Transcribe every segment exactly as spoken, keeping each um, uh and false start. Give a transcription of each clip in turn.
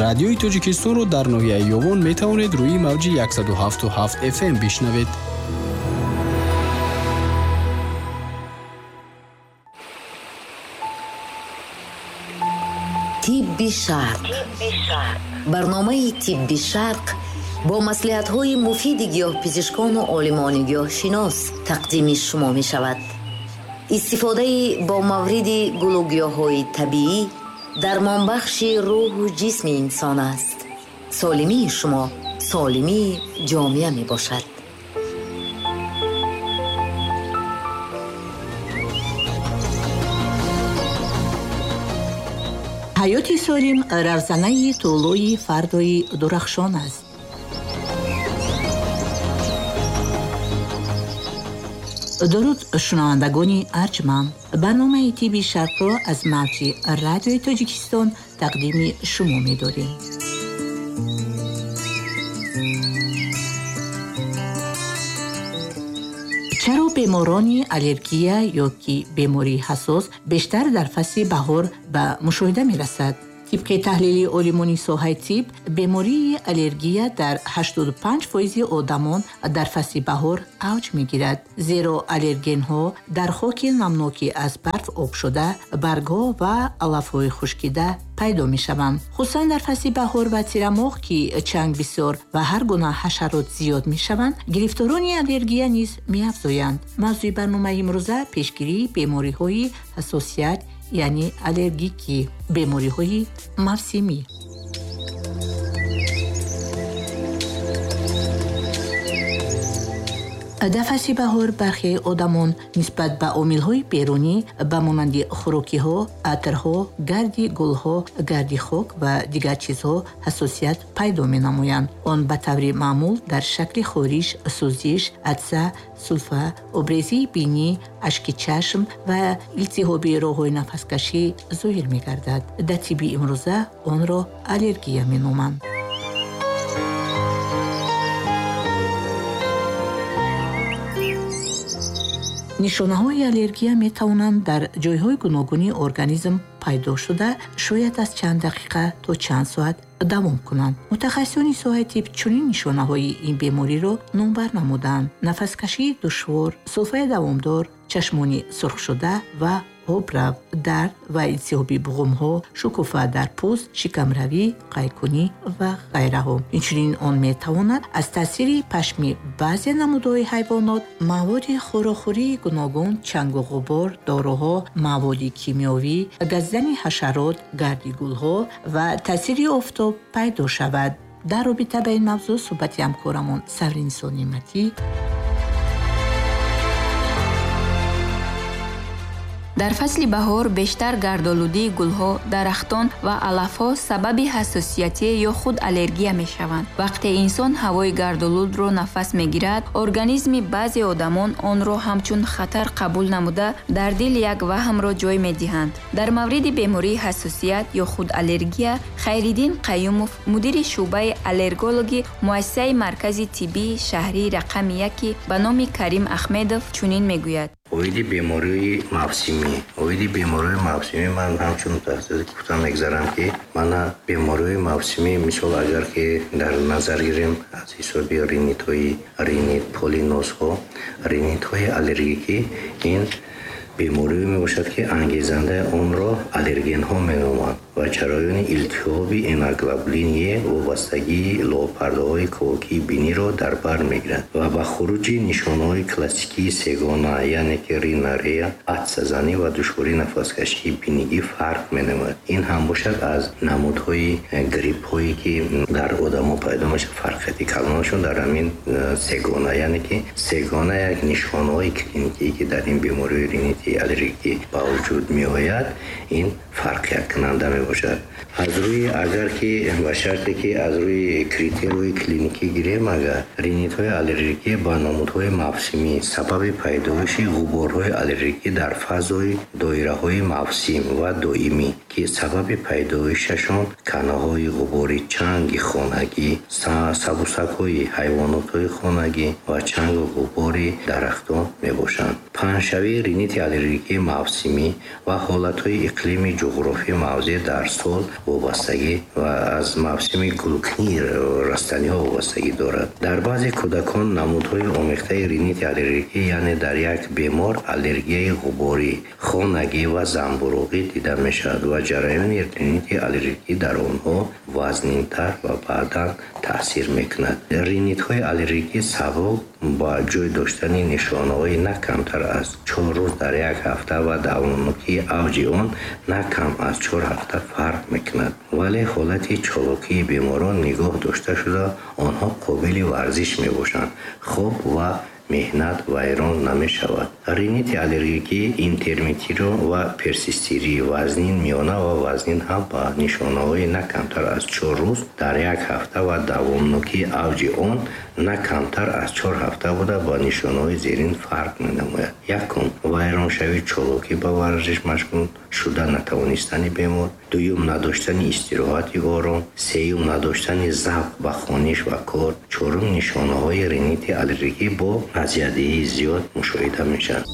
Радиои Тоҷикистонро дар ноҳияи Ёвон метавонед рӯи мавҷи яксаду ҳафту ҳафт эф эм бишнавед. Тибби Шарқ. Барномаи Тибби Шарқ бо маслиҳатҳои муфиди гиёҳпизишкону олимони гиёҳшинос тақдими шумо мешавад. Истифодаи бо мавриди гулугиёҳҳои табиӣ дармонбахши рӯҳу ҷисми инсон аст. Солимии шумо солимии ҷомеа мебошад. Ҳаёти солим равзанаи тӯлои фардои дурахшон аст. Дуруд шунавандагони арҷманд. Барномаи Тибби Шарқро аз мавҷи Радиои Тоҷикистон тақдими шумо медорем. Чаро беморони аллергия ё ки бемории ҳассос бештар дар фасли баҳор ба мушоҳида мерасад? Тибқи таҳлили олимони соҳаи тиб, бемории аллергия дар ҳаштоду панҷ фоизи одамон дар фасли баҳор авҷ мегирад, зеро аллергенҳо дар хоки намноки аз барф об шуда, баргҳо ва алафҳои хушкида пайдо мешаванд. Хусусан дар фасли баҳор ва тирамоҳ, ки чанг бисёр ва ҳар гуна ҳашарот зиёд мешаванд, гирифторони аллергия низ меафзоянд. Мавзӯи барномаи имрӯза пешгирии бемориҳои ҳассосият, яъне аллергикӣ, бемориҳои мавсимӣ. Дар фасли баҳор бархе одамон нисбат ба омилҳои берунӣ ба монанди хӯрокиҳо, атрҳо, гарди гулҳо, гарди хок ва дигар чизҳо ҳассосият пайдо менамоянд. Он ба таври маъмул дар шакли хориш, сӯзиш, атса, сулфа, обрезии бинӣ, ашки чашм ва илтиҳоби роҳҳои нафаскашӣ зоҳир мегардад. Дар тибби имрӯза онро аллергия меноманд. Нишонаҳои аллергия метавонанд дар ҷойҳои гуногуни организм пайдо шуда, шояд аз чанд дақиқа то чанд соат давом кунанд. Мутахассисони соҳаи тиб чунин нишонаҳои ин бемориро номбар намуданд: нафаскашии душвор, сулфаи давомдор, чашмони сурхшуда ва обрав, дард ва илтиҳоби буғумҳо, шукуфа дар пӯст, шикамравӣ, қайкунӣ ва ғайраҳо. Инчунин он метавонад аз таъсири пашми баъзе намудҳои ҳайвонот, маводи хӯрокхӯрии гуногун, чангу ғубор, доруҳо, маводи кимиёвӣ, газидани ҳашарот, гарди гулҳо ва таъсири офтоб пайдо шавад. Дар робита ба ин мавзӯъ суҳбати ҳамкорамон Савринисо Неъматӣ. Дар фасли баҳор бештар гардолудии гулҳо, дарахтон ва алафҳо сабаби ҳассосиятӣ ё худ аллергия мешаванд. Вақте инсон ҳавои гардолудро нафас мегирад, организми баъзе одамон онро ҳамчун хатар қабул намуда, дар дил як ваҳмро ҷой медиҳанд. Дар мавриди бемории ҳассосият ё худ аллергия, Хайриддин Қаюмов, мудири шӯъбаи аллергологи муассисаи маркази тиббии шаҳрии рақами яки ба номи Карим Аҳмедов чунин мегӯяд. Оиди бемории мавсимӣ. Оиди бемории мавсимӣ ман ҳамчун мутахассис гуфта мегзарам, ки мана бемории мавсимӣ, мисол агар ки дар назар гирем аз ҳисоби ринитҳои ринит, полинозҳо, ринитҳои аллергикӣ, ин беморие мебошад, ки ангезандаи онро аллергенҳо меноманд ва ҷараёни илтиҳоби иммуноглобулини вобастагии лопардаҳои ковокии биниро дар бар мегирад ва ба хуруҷи нишонаҳои классикии сегона, яъне ки ринорея, атсазанӣ ва душвории нафаскашии бинигӣ фарқ менамояд. Ин ҳам бошад аз намудҳои гриппҳое, ки дар одамо пайдо мешавад, фарқияти калонашон дар ҳамин сегона, яъне ки сегона як нишонаҳои клиникие, ки дар ин бемории ринити аллергикӣ ба вуҷуд меояд, ин фарқияткунанда мебошад. Аз рӯи агар ки ба шарте ки аз рӯи критериҳои клиникӣ гирем, агар ринитҳои аллергикӣ ба намудҳои мавсимӣ сабаби пайдоиши ғуборҳои аллергикӣ дар фазои доираҳои мавсим ва доимӣ, ки сабаби пайдоишашон канаҳои ғубори чанги хонагӣ, сабусакҳои ҳайвонотҳои хонагӣ ва чангу ғубори дарахтон мебошанд. Паҳншавии ринити аллергикии мавсимӣ ва ҳолатҳои иқлими ҷуғрофии мавзеъ дар сол вобастагӣ ва аз мавсими гулкунии растаниҳо вобастагӣ дорад. Дар баъзе кӯдакон намудҳои омехтаи ринити аллергикӣ, яъне дар як бемор аллергияи ғуборӣ, хонагӣ ва занбуруғӣ дида мешавад ва ҷараёни ринити аллергикӣ дар онҳо вазнинтар ва баъдан таъсир мекунад. Ринитҳои аллергикӣ сабаб ба ҷой доштани нишонаҳои на камтар аз чор рӯз дар як ҳафта ва давомнокии авҷи он на кам аз чор ҳафта фарқ мекунад. Вале ҳолати чолокии беморон нигоҳ дошта шуда, онҳо қобили варзиш мебошанд, хоб ва меҳнат вайрон намешавад. Ринити аллергикӣ интермитиро ва персистирӣ, вазнин, миёна ва вазнин ҳам ба нишонаҳои на камтар аз чор рӯз дар як ҳафта ва давомнокии авҷи он на камтар аз чор ҳафта буда ба нишонаҳои зерин фарқ менамояд. Якум, вайроншавии чолокӣ ба варзиш машғул шуда натавонистани бемор. Дуюм, надоштани истироҳати ором. Сеюм, надоштани завқ ба хониш ва кор. Чорум, нишонаҳои ринити аллергикӣ бо азиятдиҳии зиёд мушоҳида мешаванд.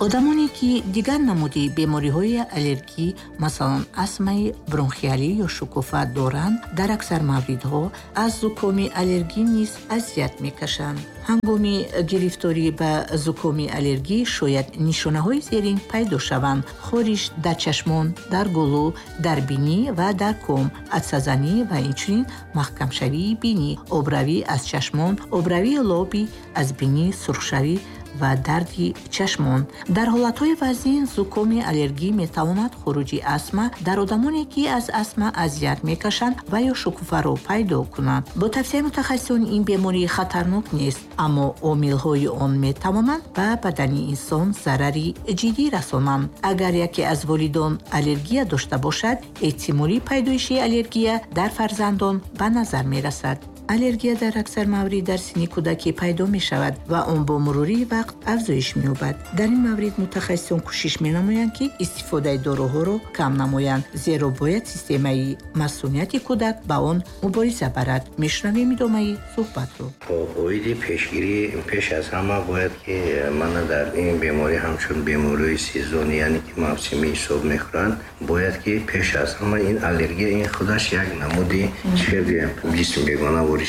Одамоне ки дигар намуди бемориҳои аллергӣ, масалан астмаи бронхиалӣ ё шукуфа доранд, дар аксар мавридҳо аз зукоми аллергӣ низ азият мекашанд. Ҳангоми гирифторӣ ба зукоми аллергӣ шояд нишонаҳои зерин пайдо шаванд: хориш дар чашмон, дар гулӯ, дар бинӣ ва дар ком, атсазанӣ ва инчунин маҳкамшавии бинӣ, обравӣ аз чашмон, обравии лоби аз бинӣ, сурхшавӣ ва дарди чашмон. Дар ҳолатҳои вазнин зукоми аллергӣ метавонад хуруҷи астма дар одамоне, ки аз астма азият мекашанд ва ё шукуфаро пайдо кунанд. Бо тавсияи мутахассисон ин беморӣ хатарнок нест, аммо омилҳои он метавонанд ба бадани инсон зарари ҷиддӣ расонанд. Агар яке аз волидон аллергия дошта бошад, эҳтимоли пайдоиши аллергия дар фарзандон ба назар мерасад. Аллергия дар аксар маврид дар синни кӯдакӣ пайдо мешавад ва он бо мурури вақт афзоиш меёбад. Дар ин маврид мутахассисон кӯшиш менамоянд, ки истифодаи доруҳоро кам намоянд, зеро бояд системаи масунияти кӯдак ба он мубориза барад. Мешунавем идомаи суҳбатро. Оиди пешгирӣ пеш аз ҳама бояд ки мана дар ин беморӣ ҳамчун бемории сезонӣ, яъне ки мавсимӣ ҳисоб мехӯранд, бояд ки пеш аз ҳама ин аллергия ин худаш як намуди чӣ гӯям ҷисм бегона ворид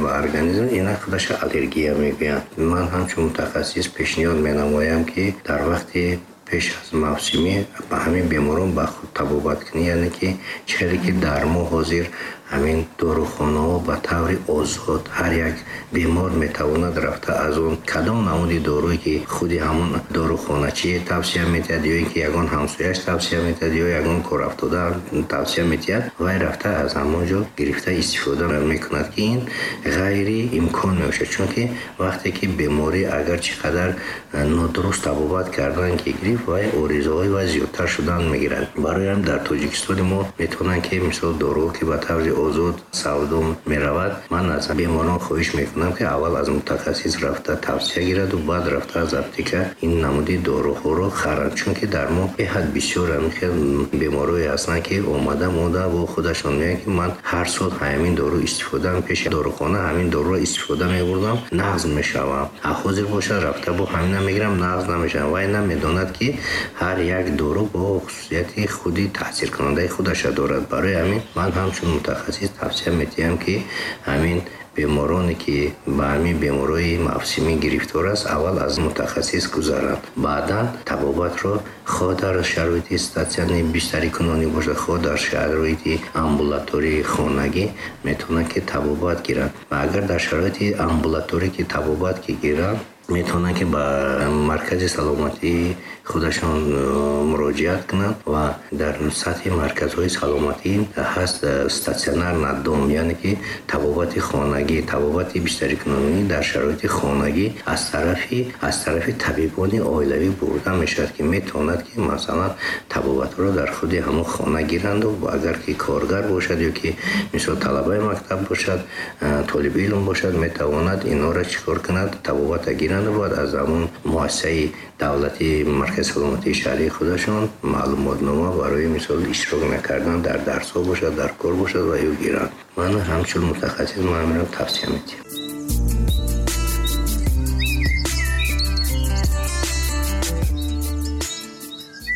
ба организм, ина худаша аллергия мегӯянд. Ман ҳамчун мутахассис пешниҳод менамоям, ки дар вақти пеш аз мавсимӣ ба ҳамин беморон ба худ табобат кунӣ, яъне ки чӣ ки дар мо ҳозир ҳамин дорухонаҳо ба таври озод ҳар як бемор метавонад рафта аз он кадом намуди доруе ки худи ҳамон дорухоначи тавсия метиҳад, ё ин ки ягон ҳамсояш тавсия метиҳад, ё ягон корафтода тавсия метиҳад, вай рафта аз ҳамон ҷо гирифта истифода мекунад, ки ин ғайри имкон мебошад. Чунки вақте ки беморӣ агар чӣ қадар нодуруст табобат кардан ки гирифт, вай оризаҳои вай зиёдтар шудан мегирад. Барои ҳам дар Тоҷикистони мо метавонанд ки мисол доруҳо ки ба таври озод савдо меравад, ман аз беморон хоҳиш мекунам, ки аввал аз мутахассис рафта тавсия гираду баъд рафта аз аптека ин намуди доруҳоро харанд. Чунки дар мо беҳад бисёр ҳамин беморое ҳастанд, ки омада монда бо худашон мегӯянд, ки ман ҳар сол ҳамин дору истифода пеши дорухона ҳамин доруро истифода мебурдам, нағз мешавам, а ҳозир бошад рафта бо ҳамина мегирам, нағз намешавам. Вай намедонад, ки ҳар як дору бо хусусияти худи таъсиркунандаи худаша дорад. Барои ҳамин ман ҳамчун мутахассис тавсия метиҳам, ки ҳамин бемороне ки ба ҳамин бемориҳои мавсимӣ гирифтор аст, аввал аз мутахассис гузаранд, баъдан табобатро хоҳ дар шароити статсионарӣ бистарикунонӣ бошад, хоҳ дар шароити амбулатории хонагӣ метавонанд ки табобат гиранд. Ва агар дар шароити амбулаторӣ ки табобат ки гиранд, метавонанд ки ба маркази саломатии худашон муроҷиат кунанд ва дар сатҳи марказҳои саломатӣ ҳаст статсионар надом, яъне ки табобати хонагӣ, табобати бистарикунонӣ дар шароити хонагӣ аз тарафи аз тарафи табибони оилавӣ бурда мешавад, ки метавонад ки масалан табобатро дар худи ҳамон хона гиранду агар ки коргар бошад ё ки мисол талабаи мактаб бошад, толиби илм бошад, метавонад инҳоро чӣ кор кунад, табобата гиранду баъд аз ҳамон муассисаи давлатии маркази саломатии шаҳрии худашон маълумотнома барои мисол иштирок накардан дар дарсҳо бошад, дар кор бошад ва ё гиранд. Ман ҳамчун мутахассис ман ҳаминро тавсия медиҳам.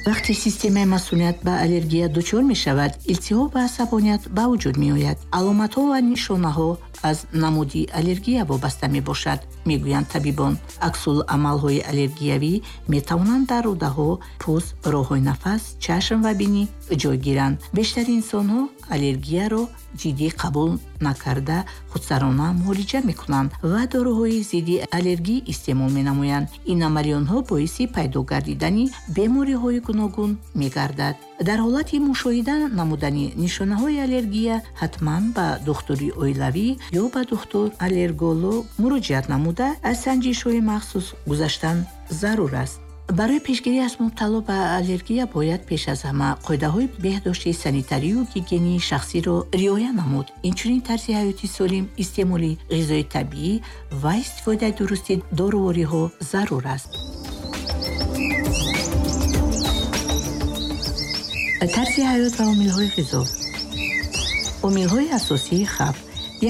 Вақте системаи масуният ба аллергия дучор мешавад, илтиҳоб ва асабоният ба вуҷуд меояд. Аломатҳо ва нишонаҳо аз намуди аллергия вобаста мебошад, мегӯянд табибон. Аксул-амалҳои аллергиявӣ метавонанд дар рӯдаҳо, пӯст, роҳҳои нафас, чашм ва бинӣ ҷой гиранд. Бештари инсонҳо аллергияро ҷиддӣ қабул накарда худсарона муолиҷа мекунанд ва доруҳои зидди аллергӣ истеъмол менамоянд. Ин амали онҳо боиси пайдо гардидани бемориҳои гуногун мегардад. Дар ҳолати мушоҳида намудани нишонаҳои аллергия ҳатман ба духтури оилавӣ ё ба духтур аллерголог муроҷиат намуда аз санҷишҳои махсус гузаштан зарур аст. Барои пешгирӣ аз мубтало ба аллергия бояд пеш аз ҳама қоидаҳои беҳдошти санитарию гигиении шахсиро риоя намуд. Инчунин тарзи ҳаёти солим, истеъмоли ғизои табиӣ ва истифодаи дурусти дорувориҳо зарур аст. Тарзи ҳаёт ва омилҳои ғизо. Омилҳои асосии хавф.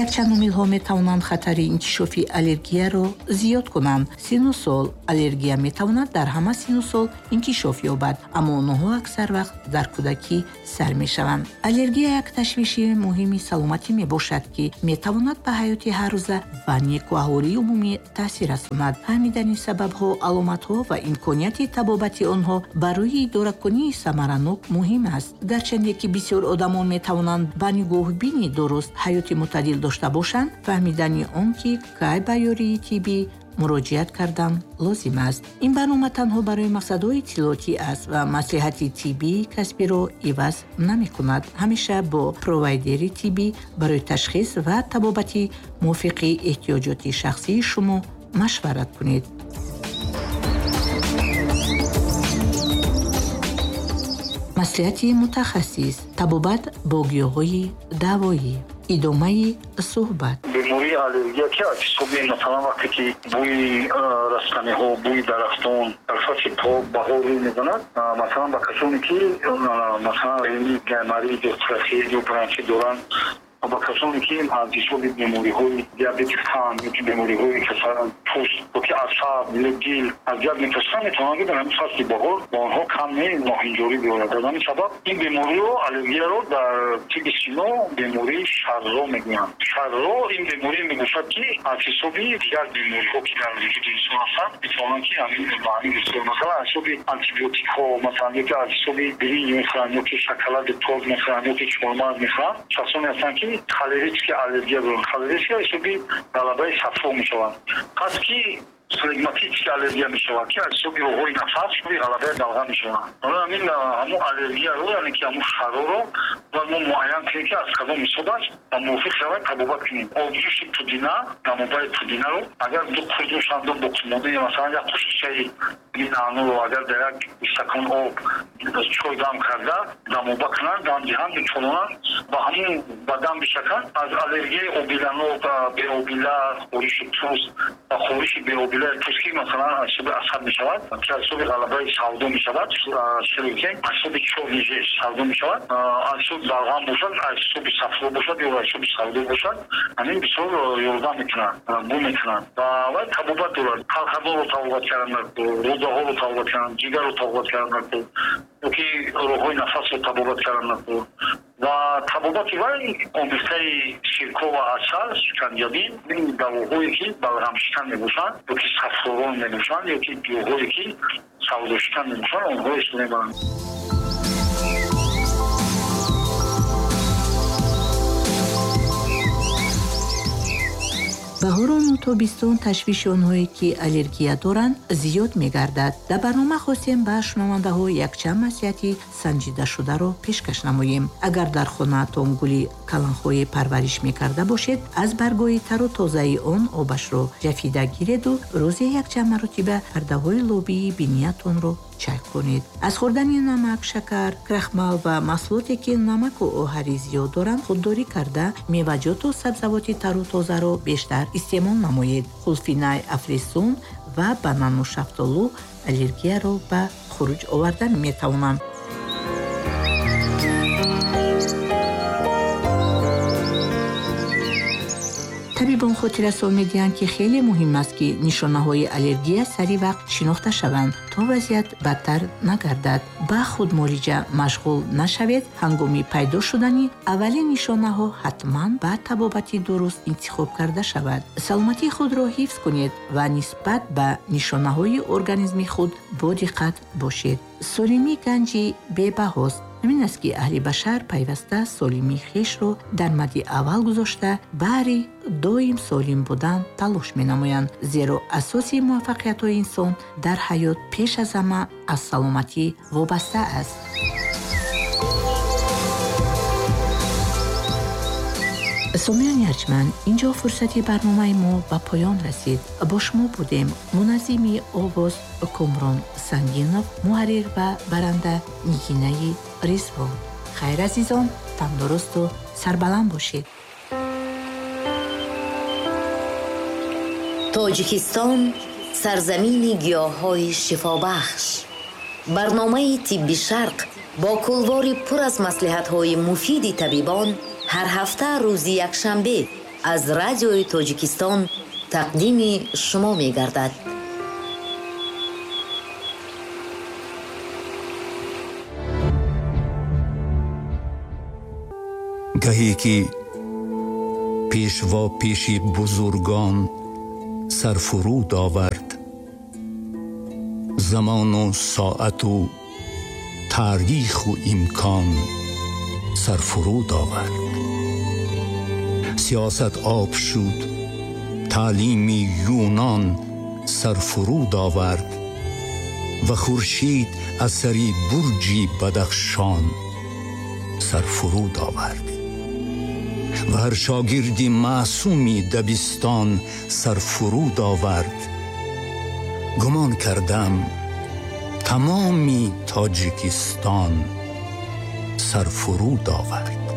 Якчанд омилҳо метавонанд хатари инкишофи аллергияро зиёд кунанд. Синну сол. Аллергия метавонад дар ҳама синну сол инкишоф ёбад, аммо онҳо аксар вақт дар кӯдакӣ сар мешаванд. Аллергия як ташвиши муҳими саломатӣ мебошад, ки метавонад ба ҳаёти ҳаррӯза ва некӯаҳолии умумӣ таъсир расонад. Фаҳмидани сабабҳо, аломатҳо ва имконияти табобати онҳо барои идоракунии самаранок муҳим аст. Гарчанде ки бисёр одамон метавонанд ба нигоҳубини дуруст ҳаёти мӯътадил дошта бошанд, фаҳмидани он ки кай ба ёрии тиббӣ муроҷиат кардан лозим аст. Ин барнома танҳо барои мақсадҳои иттилоотӣ аст ва маслиҳати тиббии касбиро иваз намекунад. Ҳамеша бо провайдери тиббӣ барои ташхис ва табобати мувофиқи эҳтиёҷоти шахсии шумо машварат кунед. Маслиҳати мутахассис. Табобат бо гиёҳҳои давоӣ. Идомаи суҳбат. Бемории аллергия ки аз ҳисоби масалан вақте ки бӯи растаниҳо, бӯи дарахтон дар фасли баҳор рӯй мезанад, масалан ба касоне ки масалан ринит, гайморит ё трахеит ё бронхит доранд, ба касоне ки аз ҳисоби бемориҳои диабети қанд ё ки бемориҳои пӯст ё ки асаб ё дил азият мекашанд, метавонанд ки дар ҳамин фасли баҳор ба онҳо каме ноҳанҷорӣ биёрад. Аз ҳамин сабаб ин бемориро, аллергияро дар тибби сино бемории шарро мегӯянд. Шарро ин беморие мебошад, ки аз ҳисоби дигар бемориҳо ки дар вуҷуди инсон ҳастанд, метавонанд ки ҳамин ба ҳамин гирифтор, масалан аз ҳисоби антибиотикҳо, масалан ё ки аз ҳисоби биринҷ мехӯранд, ё ки шоколади торт мехӯранд, ё ки чормағз мехӯранд. Шахсоне ҳастанд ки холерическая аллергия доранд. Холерическая ҳисоби ғалабаи сафро мешаванд. Пас ки флегматическая аллергия мешавад, ки аз ҳисоби роҳҳои нафас ғалабаи далға мешаванд. Барои ҳамин ҳамун аллергияро, яъне ки ҳамун шароро бояд мо муайян кунем, ки аз кадом ҳисоб аст ва мувофиқ шавад табобат кунем. Обҷӯши пудина, дамобаи пудинаро агар ду қурдушандо боқимондаи масалан як қошиқчаи наъноро агар дар як стакон об чой дам карда дамоба кунанд, дам диҳанд, бичолонанд, ба ҳамун ба дам бишаканд, аз аллергияи обиланок, беобила, хориши пӯст ва хориши беобила пӯст ки масалан аз ҳисоби асаб мешавад, ки аз ҳисоби ғалабаи савдо мешавад, широкин аз ҳисоби чорниже савдо мешавад, аз ҳисоби балғам бошад, аз ҳисоби сафро бошад ё аз ҳисоби савдо бошад, ҳамин бисёр ёрдам мекунанд, бу мекунанд ва вай табобат дорад. Қалқадонро табобат кардан, рӯдаҳоро табобат кардан, ҷигарро табобат кардан, ё ки роҳҳои нафасро табобат кардан ва табобати вай омехтаи сирко ва асал, шиканҷабин, ин давоҳое ки балғамшикан мебошанд ё ки сафророн мебошанд ё ки гиёҳҳое ки савдошикан мебошанд, онҳо истифода мебаранд. Баҳорону тобистон ташвиши онҳое ки аллергия доранд зиёд мегардад. Дар барнома хостем ба шунавандаҳо якчанд маслиҳати санҷидашударо пешкаш намоем. Агар дар хонаатон гули каланхое парвариш мекарда бошед, аз баргҳои тару тозаи он обашро ҷафида гиреду рӯзе якчанд маротиба пардаҳои лобии биниятонро чай кунед. Аз хӯрдани намак, шакар, крахмал ва маҳсулоте ки намаку оҳари зиёд доранд худдорӣ карда, меваҷоту сабзавоти тару тозаро бештар истеъмол намоед. Хулфинай, афлесун ва банану шафтолу аллергияро ба хуруҷ оварда метавонанд. Табибон хотиррасон медиҳанд, ки хеле муҳим аст, ки нишонаҳои аллергия сари вақт шинохта шаванд, то вазъият бадтар нагардад. Ба худмуолиҷа машғул нашавед. Ҳангоми пайдо шудани аввалин нишонаҳо ҳатман ба табобати дуруст интихоб карда шавад. Саломатии худро ҳифз кунед ва нисбат ба нишонаҳои организми худ бодиққат бошед. Солимӣ ганҷи бебаҳост. Ҳамин аст, ки аҳли башар пайваста солимии хешро дар мадди аввал гузошта, баҳри доим солим будан талош менамоянд, зеро асоси муваффақиятҳои инсон дар ҳаёт пеш аз ҳама аз саломатӣ вобаста аст. Сомиёни арҷманд, инҷо фурсати барномаи мо ба поён расид. Бо шумо будем муназзими овоз Комрон Сангинов, муҳаррир ва баранда Нигинаи Ризвон. Хайр, азизон, тандурусту сарбаланд бошед. Тоҷикистон сарзамини гиёҳҳои шифобахш. Барномаи Тибби Шарқ бо кулвори пур аз маслиҳатҳои муфиди табибон ҳар ҳафта рӯзи якшанбе аз радиои Тоҷикистон тақдими шумо мегардад. Гаҳе ки пешво пеши бузургон сарфуруд овард, замону соату таъриху имкон сарфуруд овард. Сиёсат об шуд, таълими юнон сарфуруд овард ва хуршид аз сари бурҷи Бадахшон сарфуруд овард ва ҳар шогирди маъсуми дабистон сарфуруд овард. Гумон кардам тамоми Тоҷикистон сарфуруд овард.